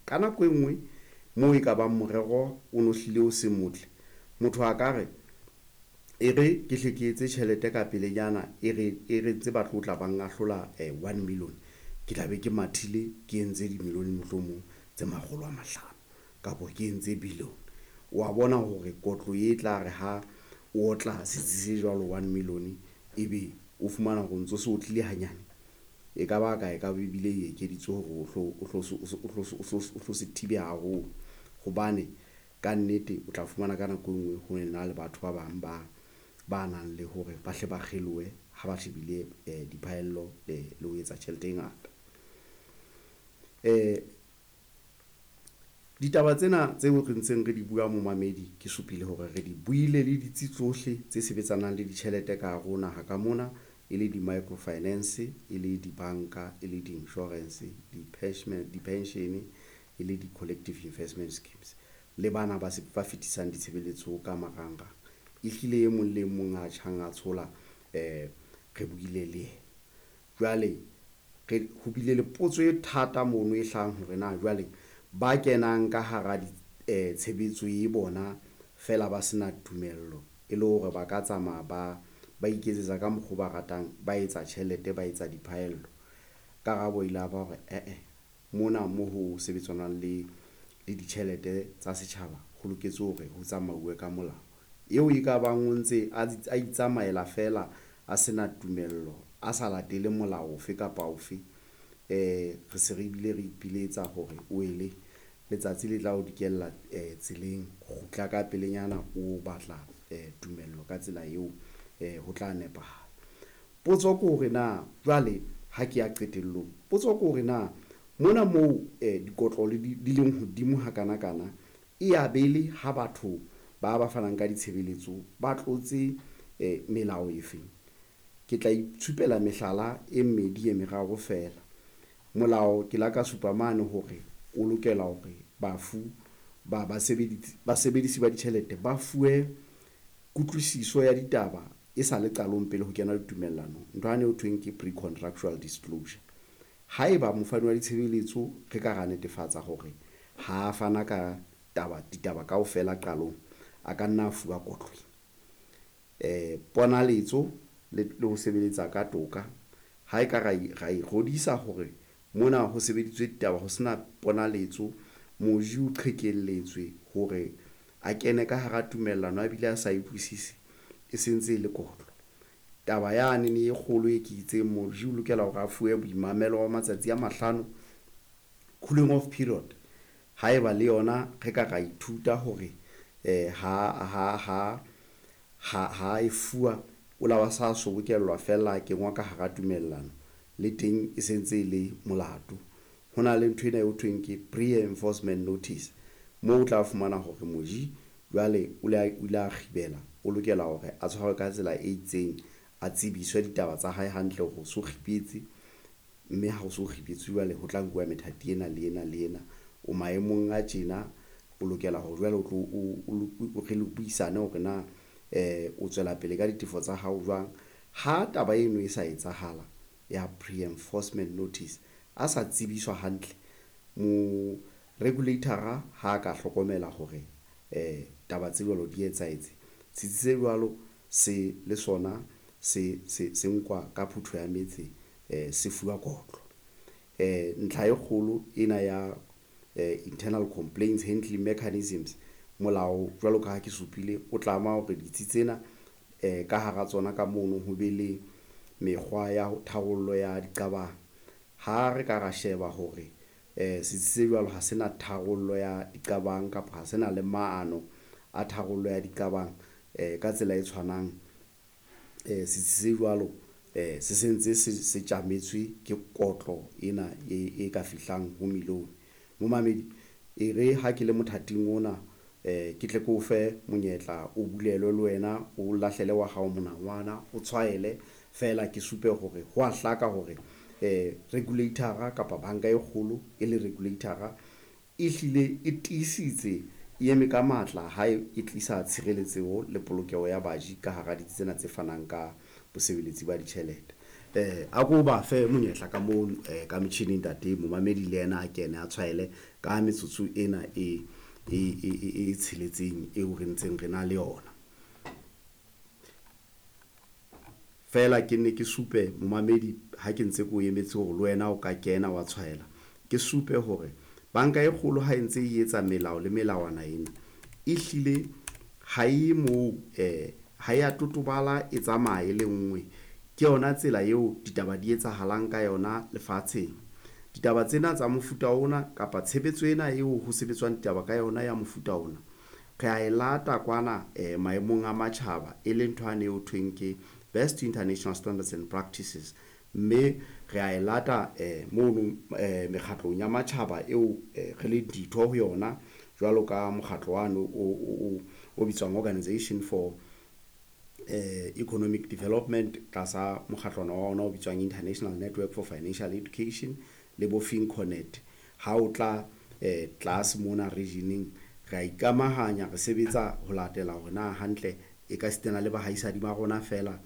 Ka nako e nngwe moo e ka bang morero o no hlile o se motle, motho a ka re e re ke hle ke etse tjhelete ka pelenyana, e re ntse ba tlo tla bang ahlola 1 million, ke tla be ke mathile ke entse di-million mohlomong tse 500 kapa ke entse billion. Wa bona hore kotlo e tla re ha o otla setsi se jwalo 1 million, ebe o fumana hore o ntso se otlile hanyane, e ka ba ka e ka ebile e ekeditswe hore o hlo se thibe haholo. Hobane ka nnete o tla fumana ka nako e nngwe ho ena le batho ba bang ba nang le hore ba hle ba kgelohe ha ba shebile diphaello le ho etsa tjhelete e ngata. Ditaba tsena tseo re ntseng re di bua momamedi, ke supile hore re di buile le ditsi tsohle tse sebetsanang le ditjhelete ka hare ho naha ka mona, e le di-microfinance, e le dibanka, e le di-insurance, di-pension, e le di-collective investment schemes, le bana ba fetisang ditshebeletso ka marangrang. Ehlile e mong le mong a tjhang a tshola, re buile le yena. Jwale re ho bile le potso e thata mono e hlahang hore na jwale ba kenang ka hara tshebetso e bona fela ba sena tumello, e le hore ba ka tsamaya ba iketsetsa ka mokgo ba ratang, ba etsa tjhelete, ba etsa diphaello. Karabo ile ya ba hore eh-eh, mona mo ho sebetsanang le ditjhelete tsa setjhaba ho loketse hore ho tsamauwe ka molao. Eo e ka bang o ntse a itsamaela fela a sena tumello, a sa latele molao ofe kapa ofe, re se re bile re ipiletsa hore o ele letsatsi le tla o dikella tseleng, kgutla ka pelenyana o batla tumello ka tsela eo, ho tla nepahala. Potso ke hore na jwale ha ke ya qetellong, potso ke hore na mona moo dikotlo di leng hodimo hakanakana, e ya bele ha batho ba fanang ka ditshebeletso ba tlotse melao e feng? Ke tla itshupela mehlala e mmedi e meraro fela. Molao ke la ka supa mane hore o lokela hore bafu ba basebedisi ba ditjhelete ba fuwe kutlwisiso ya ditaba e sa le qalong pele ho kena ditumellanong, ntho yane ho thweng ke pre-contractual disclosure. Haeba mofani wa ditshebeletso re ka ra netefatsa hore ha fana ka ditaba kaofela qalong, a ka nna a fuwa kotlo. Ponaletso le ho sebeletsa ka toka, ha e ka ra ikgodisa hore mona ho sebeditswe ditaba ho sena ponaletso, moji o qhekelletswe hore a kene ka hara tumellano a bile a sa utlwisise, e sentse e le kotlo. Taba yane e kgolo e ke itseng moji o lokela hore a fuwe boimamelo ba matsatsi a 5, cooling off period. Haeba le yona re ka ra ithuta hore ha e fuwa o la ba sa sobokellwa fela a kengwa ka hara tumellano, le teng e sentse e le molato. Ho na le ntho ena eo thweng ke pre-enforcement notice, moo o tla fumana hore moji jwale o ile a kgibela, o lokela hore a tshwarwe ka tsela e itseng, a tsebiswe ditaba tsa hae hantle hore o so kgibetse, mme ha o so kgibetse jwale ho tla nkuwa methati ena le ena le ena, o maemong a tjena, o lokela hore jwale o tlo o re le buisane hore na o tswela pele ka ditefo tsa hao jwang. Ha taba eno e sa etsahala ya pre-enforcement notice, a sa tsebiswa hantle, mo regulator-a ha ka hlokomela hore taba tse jwalo di etsahetse, setsi se jwalo se le sona se nkwa ka phuthu ya metse, se fuwa kotlo. Ntlha e kgolo ena ya internal complaints handling mechanisms, molao jwalo ka ha ke supile o tlama hore ditsi tsena ka hara tsona ka mono ho be le mekgwa ya tharollo ya diqabang. Ha re ka ra sheba hore setsi se jwalo ha sena tharollo ya diqabang kapa ha sena le maano a tharollo ya diqabang, ka tsela e tshwanang, setsi se jwalo se sentse se tjametswe ke kotlo ena e ka fihlang ho million. Momamedi e re ha ke le mothating ona, ke tle ke o fe monyetla o bulelwe le wena, o lahlele wa hao monangwana, o tshwaele fela ke supe hore ho a hlaka hore regulator-a kapa banka e kgolo e le regulator-a e hlile e tiisitse, e eme ka matla ha e tlisa tshireletseho le polokeho ya baji ka hara ditsi tsena tse fanang ka bosebeletsi ba ditjhelete. A ko ba fe monyetla ka moo ka metjhining ntate momamedi le yena a kene a tshwaele ka metsotso ena e tsheletseng eo re ntseng re na le yona. Feela ke nne ke supe momamedi ha ke ntse ke o emetse hore le wena o ka kena wa tshwaela, ke supe hore banka e kgolo ha e ntse e etsa melao le melawana ena, e hlile ha e moo ha ya totobala e tsamaye le nngwe. Ke yona tsela eo ditaba di etsahalang ka yona lefatsheng. Ditaba tsena tsa mofuta ona kapa tshebetso ena eo ho sebetswang ditaba ka yona ya mofuta ona, re a e lata kwana maemong a matjhaba, e leng ntho yane eo thweng ke Best International Standards and Practices, mme re a e lata mono mekgatlong ya matjhaba eo re leng ditho ho yona, jwalo ka mokgatlo wane o bitswang Organization for Economic Development, tlasa mokgatlwana wa ona o bitswang International Network for Financial Education le bo FinCoNet. Ha o tla tlase mona regioneng, re a ikamahanya, re sebetsa ho latela hore na hantle e ka sitana le bahaisadi ba rona fela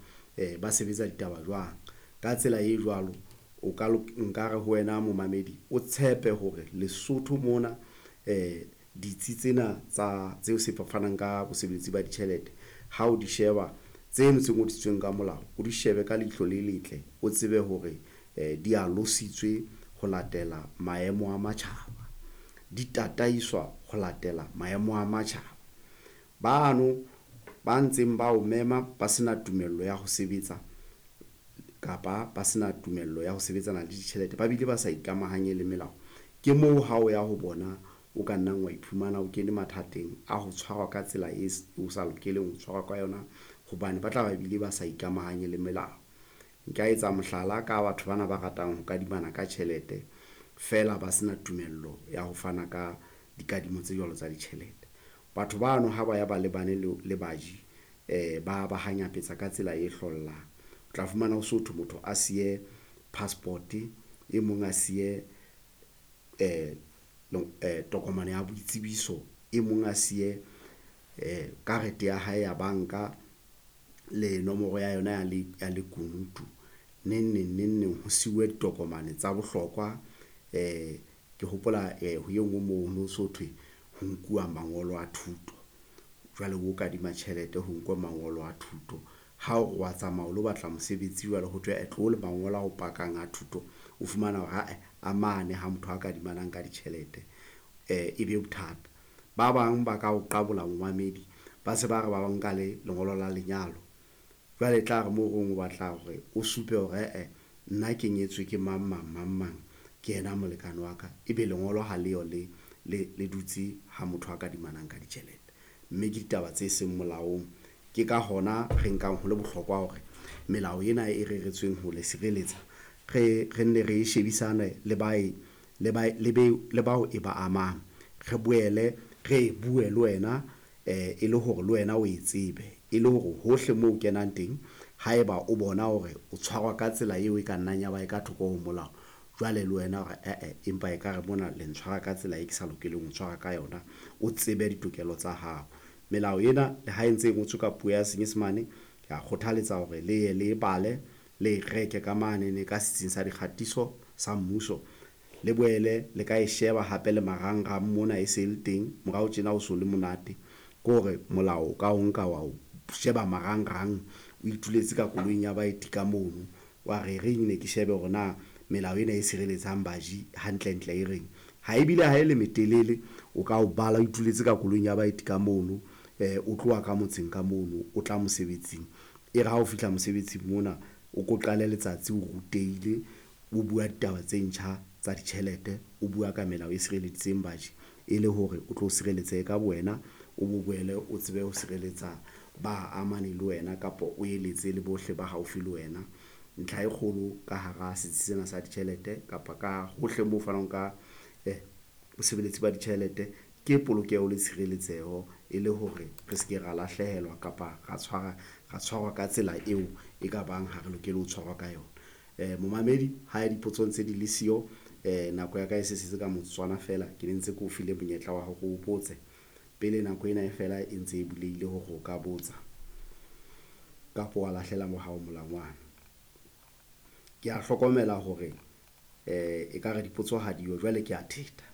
ba sebetsa ditaba jwang. Ka tsela e jwalo o ka nkare ho wena momamedi o tshepe hore Lesotho mona ditsi tsena tsa tseo se fanang ka bosebeletsi ba ditjhelete, ha o di sheba tseno tse ngodisitsweng ka molao, o di shebe ka leihlo le letle, o tsebe hore di alositswe ho latela maemo a matjhaba, di tataiswa ho latela maemo a matjhaba. Bano ba ntseng ba o mema ba sena tumello ya ho sebetsa kapa ba sena tumello ya ho sebetsana le ditjhelete, ba bile ba sa ikamahanye le melao, ke moo ha o ya ho bona o ka nnang wa iphumana o kene mathateng a ho tshwarwa ka tsela e o sa lokeleng ho tshwarwa ka yona, hobane ba tla ba bile ba sa ikamahanye le melao. Nka etsa mohlala ka batho bana ba ratang ho kadimana ka tjhelete feela ba sena tumello ya ho fana ka dikadimo tse jwalo tsa ditjhelete. Batho bano ha ba ya ba lebane le baji ba ba hanyapetsa ka tsela e hlollang. O tla fumana ho so thwe motho a siye passport, e mong a siye tokomane ya boitsebiso, e mong a siye karete ya hae ya banka le nomoro ya yona ya lekunutu. Neng neng neng neng ho siuwe ditokomane tsa bohlokwa. Ke hopola ho e nngwe moo ho no so thwe ho nkuwa mangolo a thuto. Jwale o kadima tjhelete ho nkwe mangolo a thuto, ha o re wa tsamaya o lo batla mosebetsi jwale ho thwe tlo le mangolo a o pakang a thuto, o fumana hore ae a mane ha motho a kadimanang ka ditjhelete e be bothata. Ba bang ba ka o qabola momamedi, ba se ba re ba nka le lengolo la lenyalo. Jwale e tla re moo reng o batla hore o supe hore ee nna ke nyetswe ke mang mang mang mang, ke yena molekane wa ka, ebe lengolo ha leyo le le dutse ha motho a kadimanang ka ditjhelete, mme ke ditaba tse seng molaong. Ke ka hona re nkang ho le bohlokwa hore melao ena e reretsweng ho le sireletsa re nne re shebisane le bao e ba amang, re boele re e bue le wena e le hore le wena o e tsebe, e le hore hohle moo o kenang teng haeba o bona hore o tshwarwa ka tsela eo e ka nnang ya ba e ka thoko ho molao, jwale le wena hore ee empa ekare mona le ntshwara ka tsela e ke sa lokeleng ho tshwarwa ka yona, o tsebe ditokelo tsa hao. Melao ena le ha e ntse e ngotswe ka puo ya Senyesemane, ke a kgothaletsa hore le ye le bale, le e reke ka mane ka setsing sa dikgatiso sa mmuso, le boele le ka e sheba hape le marangrang mona e se le teng morao tjena o so le monate, ke hore molao o ka o nka wa o sheba marangrang, o ituletse ka koloing ya baeti ka mono, wa re reng ne ke shebe hore na melao ena e sireletsang baji hantlentle e reng. Ha ebile ha e le metelele, o ka o bala o ituletse ka koloing ya baeti ka mono, o tloha ka motseng ka mono o tla mosebetsing, e re ha o fihla mosebetsing mona o ko qale letsatsi o rutehile, o bua ditaba tse ntjha tsa ditjhelete, o bua ka melao e sireleditseng baji, e le hore o tlo sireletsehe ka bowena, o bo boele o tsebe ho sireletsa ba amaneng le wena kapa o eletse le bohle ba haufi le wena. Ntlha e kgolo ka hara setsi sena sa ditjhelete kapa ka hohle moo fanang ka bosebeletsi ba ditjhelete ke polokeho le tshireletseho, e le hore re se ke ra lahlehelwa kapa ra tshwarwa ka tsela eo e ka bang ha re lokele ho tshwarwa ka yona. Momamedi ha dipotso ntse di le siyo, nako ya ka e se setse ka motsotswana feela, ke ne ntse ke o file monyetla wa hore o botse pele nako ena e fela e ntse e bulehile hore o ka botsa kapa wa lahlela mo hao molangwana. Ke a hlokomela hore ekare dipotso ha diyo, jwale ke a theta.